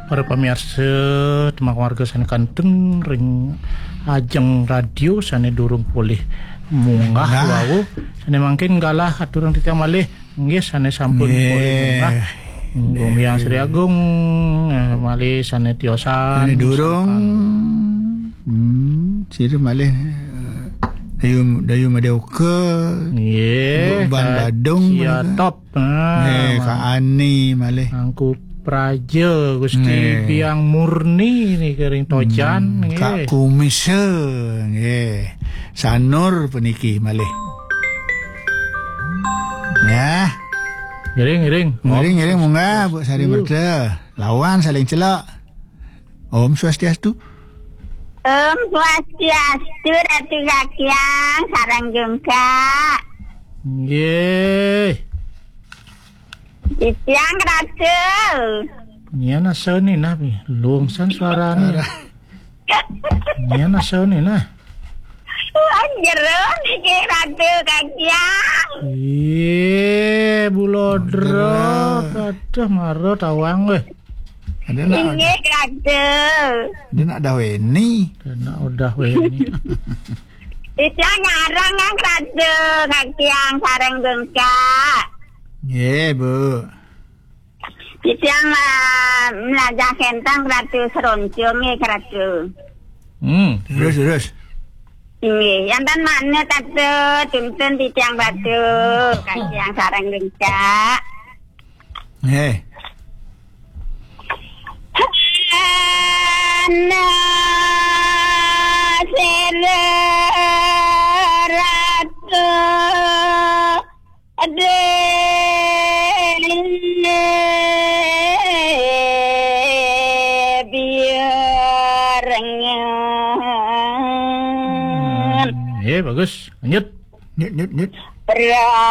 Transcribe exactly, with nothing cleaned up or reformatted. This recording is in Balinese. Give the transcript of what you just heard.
Para pamiarsa, tembang warga sané kantun ring ajeng radio sané durung polih munggah wau, sané mangkin galah aturang titiang malih, nggih, sané sampun polih munggah. Nggih. Gumiang Sri Agung, eh, malih sané tiosan. Sané durung. Hmm, sira malih, eh, Dayu, Dayu Madé Oka. Nggih, Mbok Ban Badung, Cia Top. Ah, nggih, Kak Ani malih. Angku Praja, Gusti Biang Murni nika ring Tojan, nggih. Kak Kumis, nggih. Sanur puniki malih. Ya. Ngiring, ngiring. Ngiring, ngiring, munggah, Bu Sari Merta. Lawan saling celak. Om Swastiastu. Om Swastiastu, Ratu Kakiang, sareng jungkak. Nggih. Titiang Ratu. Nyen asane nah, pi. Lungsan suarane. Nyen asane nah. Wah, jero niki Ratu Kakiang. Iye, bulodro. Aduh, mara tawang weh. Ada nak, inggih, Ratu. Ada nak dah Weni. Ada nak udah Weni. Titiang nyareng, Kang Ratu, Kakiang sareng jungkak. Nggih, Bu. Titiang, eh, mlajah kentang Ratu Seroncong nggih, Ratu. Hmm, terus, terus. Nggih, yanten manut Ratu, tuntun titiang Ratu, Kakiang sareng jungkak. Nggih. Ana sira Ratu dene biarengan. Nggih, bagus. Lanjut. Nyut, nyut, nyut. Pra